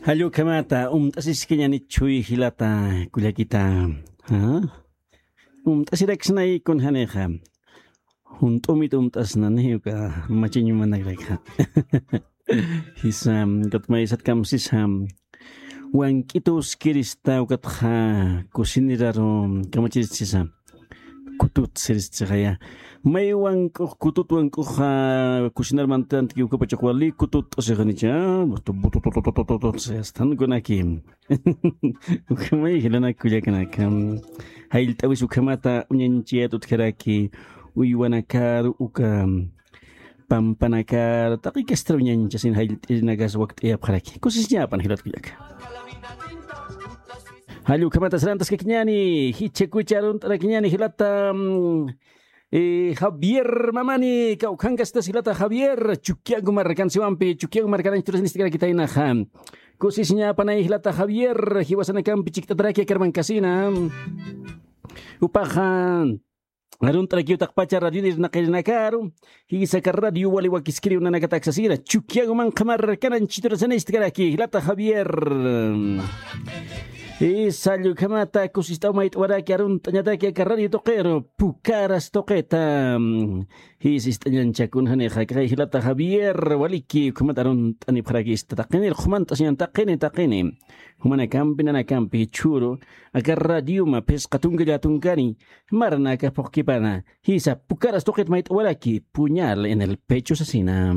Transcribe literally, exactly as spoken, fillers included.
Jallukhamata, umt'asiskañani chuy jilata kullakita. ¿Ah? Umt'asiraksnay kunjanixa. Junt'umit umt'asnani uka machañumanakrakxa. Jisa, ukatmaysatkamsisa. Wank'itu uskirista ukatxa kusiniraru kamachirisisa. Kutut siristixaya. May wank'ux, kutut wank'uxa kusinarmantanti ukapachax wali kutut t'usixanicha. Butu, butu, butu, butu, butu, butu, sastan kunaki. Ukhamay jilanak kullakanaka. Jayllt'awis ukhamata uñanchiyat utjaraki uywanakar uka pampanakar taqi kastar uñanchasin jayllt'irinakas wakt'ayapxaraki. Kusisñapan jilat kullaka. Jall ukhamata sarantaskakiñani, jichha kucha arunt'arakiñani jilata, mm, eh, Javier Mamani, kawkhankastas jilata Javier, Chukiyagu markansiwampi, Chukiyagu markananch turasinistarakitaynaxa. Kusisiñapanay jilata Javier, jiwasanakampi chikt'ataraki akarman kasina. Upaxa, arunt'arakiw taqpacha radio irnaqirinakaru, jisaka radio wali wakiskiriw nanakataksasira, Chukiyagu manqha markananch turasinistakaraki, jilata Javier. Jisa, jallukhamata kusist'aw mayt'waraki arunt'añataki aka radio tuqiru, Pukaras tuqita. Jisist'añanchakun janixa, kay jilata Javier, waliki, ukhamat arunt'anipxarakista taqinir, qhumant'asiñan taqini, taqini. Jumanakampi, nanakampi, chhuru, aka radioma, phisqa tunka llatunkani, marnaka phuqkipana, jisa, Pukaras tuqit mayt'waraki, puñal en el pecho sasina.